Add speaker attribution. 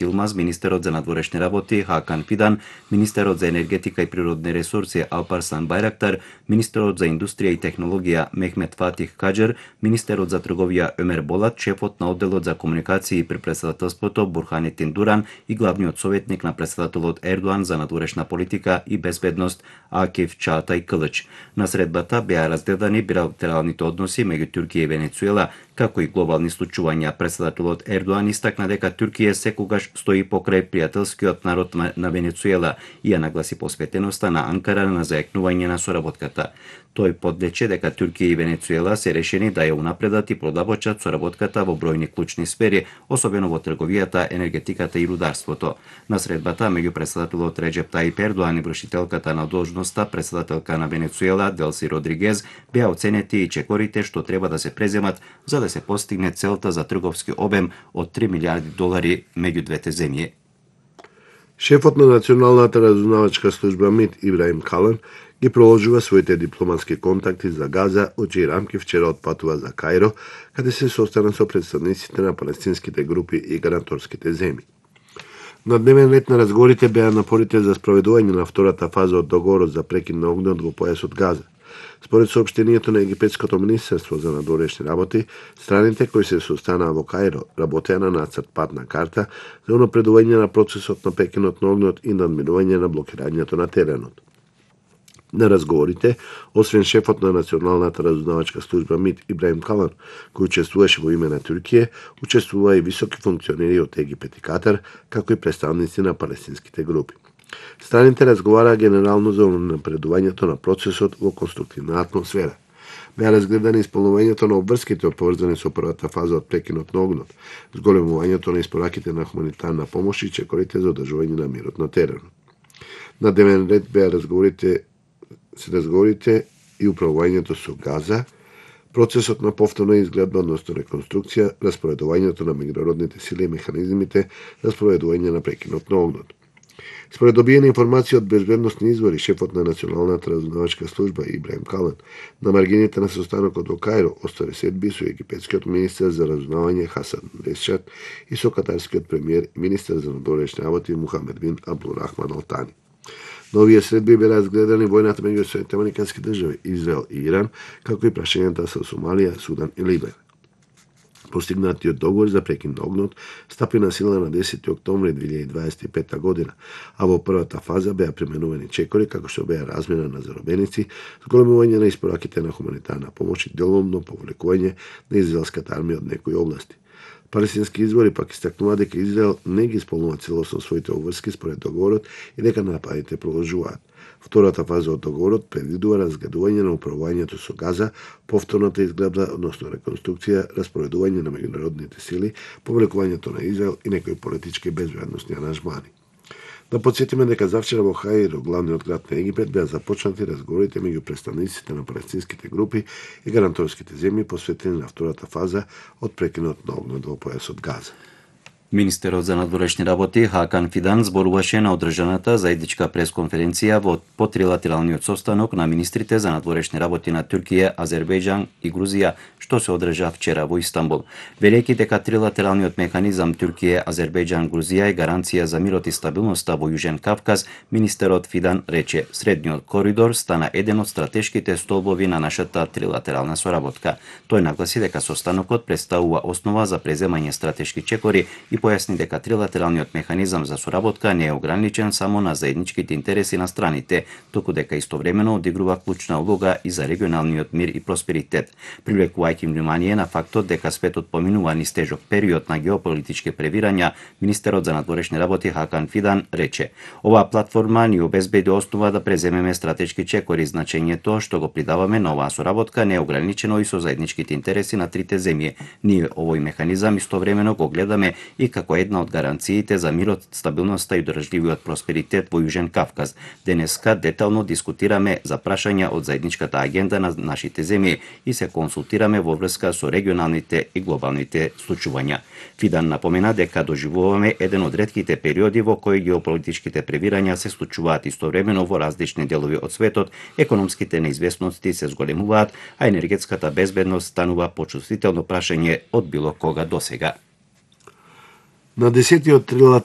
Speaker 1: Илмаз, министерот за надворешни работи Хакан Фидан, министерот за енергетика и природни ресурси Алпарсан Байрактар, министерот за индустрија и технологија Мехмет Фатих Каџер, министерот за трговија Өмер Болат, шефот на одделот за комуникации при претседателството Бурханетин Дуран и главниот советник на претседателот Ердоан за надворешна политика и безбедност Акиф Чаатај Кылыч. На средбата беа разгледани билатералните односи меѓу Туркија и Венецуела, како и глобални случувања. Претседателот Ердоан истакна дека Туркија секогаш стои покрај пријателскиот народ на Венецуела и ја нагласи посветеноста на Анкара на зајакнување на соработката. Тој подлече дека Туркија и Венецуела се решени да ја унапредат и продабочат соработката во бројни клучни сфери, особено во трговијата, енергетиката и рударството. На средбата меѓу претседателот Реджеп Таип Ердоан и вршителката на должноста претседателка на Венецуела Делси Родригез беа оценети и чекорите што треба да се преземат за да се постигне целта за трговски обем од $3 милиарди меѓу двете земји.
Speaker 2: Шефот на Националната разузнавачка служба МИД Ибраим Калан ги проложува своите дипломатски контакти за Газа, од чии рамки вчера отпатува за Каиро, каде се состана со представниците на палестинските групи и гаранторските земји. На дневен ред на разговорите беа напорите за спроведување на втората фаза од договорот за прекин на огнот во појасот Газа. Според соопштението на Египетското министерство за надворешни работи, страните кои се состанаа во Каиро работеа на нацрт патна карта за унапредување на процесот на прекинот на огнот и надминување на блокирањето на теренот. На разговорите, освен шефот на Националната разузнавачка служба МИД Ибраим Калан, кој учествуваше во име на Туркија, учествува и високи функционери од Египет и Катар, како и представници на палестинските групи. Страните разговараа генерално за напредувањето на процесот во конструктивна атмосфера. Беа разгледани исполнувањето на обврските поврзани со првата фаза од прекинот на огнот, зголемувањето на испораките на хуманитарна помош и чекорите за одржување на мирот на теренот. На дневен ред беа разговорите и управувањето со Газа, процесот на повторна изгледба, односно реконструкција, распоредувањето на меѓународните сили и механизмите за спроведување на прекинот на огнот. Според добиени информации од безбедносни извори, шефот на Националната разузнавачка служба Ибраим Калан на маргините на состанокот во Каиро остави седби со египетскиот министер за разузнавање Хасан Решат и со катарскиот премиер и министер за надворешни работи Мухамед бин Абдулрахман Ал Тани. На овие средби беа разгледани војната меѓу Соединетите американски држави, Израел и Иран, како и прашањата со Сомалија, Судан и Либер. Постигнатиот договор за прекин на огнот стапи на сила на 10 октомври 2025 година, а во првата фаза беа применувани чекори како што беа размена на заробеници, зголемување на испораките на хуманитарна помош и деломно повлекување на израелската армија од некои области. Палестински извори пак истакнува дека Израел не ги исполнува целосно своите обврски според договорот и дека нападите продолжуваат. Втората фаза од договорот предвидува разгледување на управувањето со Газа, повторната изгледба, односно реконструкција, распоредување на меѓународните сили, повлекувањето на Израел и некои политички и безбедносни аранжмани. Да подсетиме дека завчера во Каиро, главниот град на Египет, беа започнати разговорите меѓу представниците на палестинските групи и гаранторските земји посветени на втората фаза од прекинот на огнот во појасот Газа.
Speaker 1: Министерот за надворешни работи Хакан Фидан зборуваше на одржаната заедничка пресконференција по трилатералниот состанок на министрите за надворешни работи на Туркија, Азербејџан и Грузија, што се одржа вчера во Истанбул. Велејќи дека трилатералниот механизам Туркија, Азербејџан, Грузија е гаранција за мирот и стабилноста во Јужен Кавказ, министерот Фидан рече: "Средниот коридор стана еден од стратешките столбови на нашата трилатерална соработка." Тој нагласи дека состанокот представува основа за преземање стратешки чекори и појасни дека трилатералниот механизам за соработка не е ограничен само на заедничките интереси на страните, туку дека истовремено одигрува клучна улога и за регионалниот мир и просперитет, привлекувајќи внимание на фактот дека светот поминува низ тежок период на геополитички превирања. Министерот за надворешни работи Хакан Фидан рече: "Оваа платформа ни обезбеди основа да преземеме стратешки чекори. Значењето што го придаваме на оваа соработка не е ограничено и со заедничките интереси на трите земји. Ние овој механизам истовремено го гледаме и како една од гаранциите за мирот, стабилноста и одржливиот просперитет во Јужен Кавказ. Денеска детално дискутираме за прашања од заедничката агенда на нашите земји и се консултираме во врска со регионалните и глобалните случувања." Фидан напомена дека доживуваме еден од ретките периоди во кои геополитичките превирања се случуваат истовремено во различни делови од светот, економските неизвестности се зголемуваат, а енергетската безбедност станува почувствително прашање од било кога досега.
Speaker 2: На 10-тиот трилатерален